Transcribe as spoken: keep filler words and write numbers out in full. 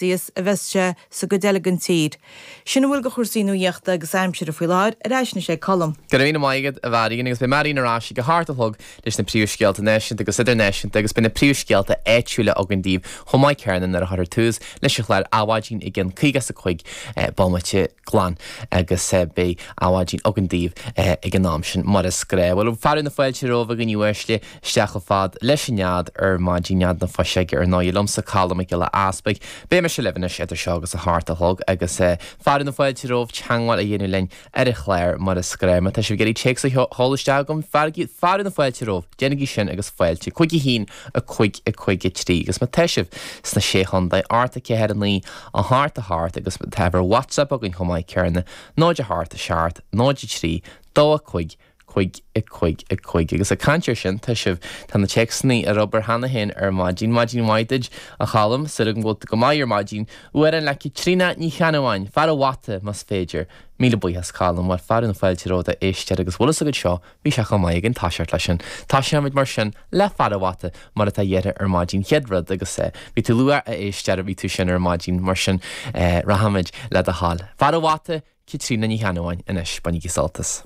Celsius a bheas sé sa gcuid eile den tír. Sin a bhfuil de chúrsaí nuachta agus aimsire faoi láthair ar ais anois ag Colm. Go raibh míle maith agat a Mharion agus beidh Marion ar ais ag a hocht a chlog leis na príomhscéalta náisiúnta agus idirnáisiúnta agus beidh na príomhscéalta áitiúla againn daoibh chomh maith céanna nuair a chuirfear tús leis an chlár Adhmhaidin i gceann caoga is a cúig bomaite glan agus beidh Adhmhaidin againn daoibh ag an am sin mar is gnách. Bhuel fearadh na fáilte romhaibh a dhaoine uaisle isteach chomh fada leis an nead ar maidin nead na fuiseoige ar ndóigh liomsa Colm Mac Giolla Easpaig. Beidh mise libh anois idir seo agus a hocht a chlog agus fearadh na fáilte romhaibh teagmháil a dhéanamh linn ar an chlár mar is gnách. Má tá sibh ag iarraidh téacs a sheoladh isteach chugam fearadh na fáilte romhaibh, déanaigí sin agus fáilte cúig a haon a cúig a cúig a trí agus má tá sibh sna sé chontae ocht a ceathair a naoi a hocht a hocht agus tá ar WhatsApp againn chomh maith céanna náid a hocht a seacht náid a trí dó a cúig cúig a cúig a cúig agus ag caint air sin tá sibh tá na téacsanna ar obair cheana féin ar maidin maidin mhaith duit a Cholm súil agam go bhfuil tú go maith ar maidin amhrán le Caitríona Ní Cheannabháin fear an bhata más féidir míle buíochas Colm mar fearadh na fáilte romhat a éisteoir agus bhfuil a fhios agat seo bhí sé chomh maith againn toiseacht leis sin Tosóimid mar sin le fear an bhata mar atá iarrtha ar maidin chéad rud agus bhí tú luath a éisteoir bhí tú sin ar maidin mar sin rachaimid le do thoil. Fear an bhata Caitríona Ní Cheannabháin anois bainigí sult as.